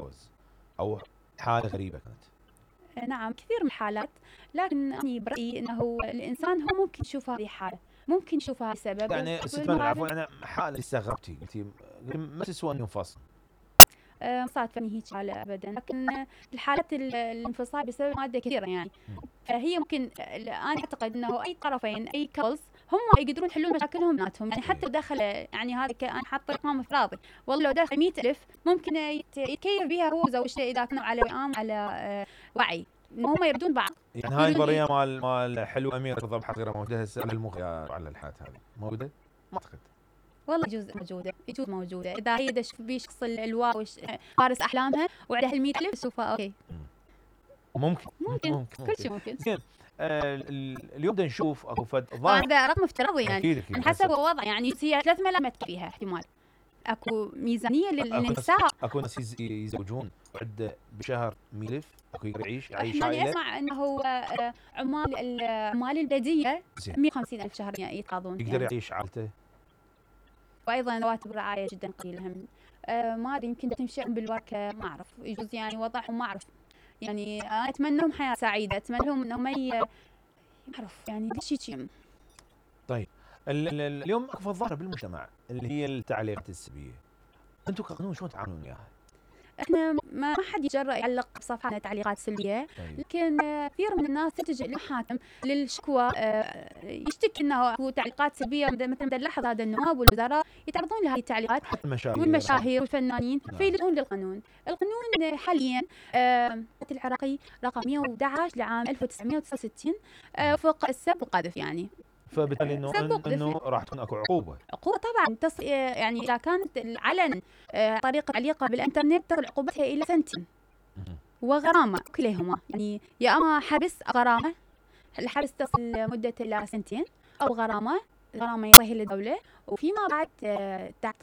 عوز او حاله غريبه كانت. نعم كثير من الحالات، لكن أنا برأيي أنه الإنسان هو ممكن يشوف هذه حالة، ممكن يشوف هذا السبب. يعني ست مرة عفوا انا حاله استغربتي قلتي ما تسوى ان ينفصل. صادفني هيك حالة ابدا، لكن الحالات الانفصال بسبب ماده كثيره يعني. فهي ممكن انا اعتقد انه اي طرفين اي كابلز هم يقدرون يحلون مشاكلهم بيناتهم، يعني حتى دخل يعني هذا انا حاطه رقم افتراضي، والله لو دخل 100,000 ممكن يتكيف بها هو وزوجته اذا كانوا على وئام على وعي ان هم يردون بعض. يعني هاي النظريه مال حلو امير رضا بحق غير موجوده هسه على الحالات هذه موجوده؟ ما اعتقد. والله يجوز موجوده اذا هي تشوف بيه شخص الواو فارس احلامها وعليها 100,000 تشوفها اوكي. ممكن كل شيء ممكن. زين اليوم بدنا نشوف اكو فد هذا رقم افتراضي يعني أكيد عن حسب الوضع، يعني هي 3 ملامات فيها احتمال. اكو ميزانيه للنساء، اكو ناس يزوجون عده بشهر 100,000، اكو يقدر يعيش عائله. اسمع انه عمال البلديه 150,000 شهر يتقاضون، يقدر يعيش عائلته. وايضا رواتب الرعايه جدا قليله هم. ما ادري يمكن تمشي بالوركه، ما اعرف، يجوز يعني وضعهم ما اعرف. يعني انا اتمنى لهم حياه سعيده، اتمنى لهم انهم ما اعرف يعني شيء. طيب اليوم اكو ظاهره بالمجتمع اللي هي التعليقات السلبيه، انتم كقانون شلون تعاملون وياها؟ احنا ما حد يتجرأ يعلق بصفحاتنا تعليقات سلبيه. طيب. لكن كثير من الناس تلجأ للمحاكم للشكوى، يشتكي انه اكو تعليقات سلبيه. مثل ما نلاحظ هذا النواب والوزراء يتعرضون لهذه التعليقات، والمشاهير والفنانين فيلجؤون للقانون. القانون حاليا العراقي رقم 111 لعام 1969 وفق السب والقذف يعني. فبالتالي انه راح تكون اكو عقوبه طبعا يعني اذا كانت العلن طريقه تعليقها بالانترنت تصل عقوبتها الى 2 سنين وغرامه كليهما، يعني يا اما حبس غرامه، الحبس تصل مدته الى 2 سنين او غرامه يعطيها للدوله، وفيما بعد تعطي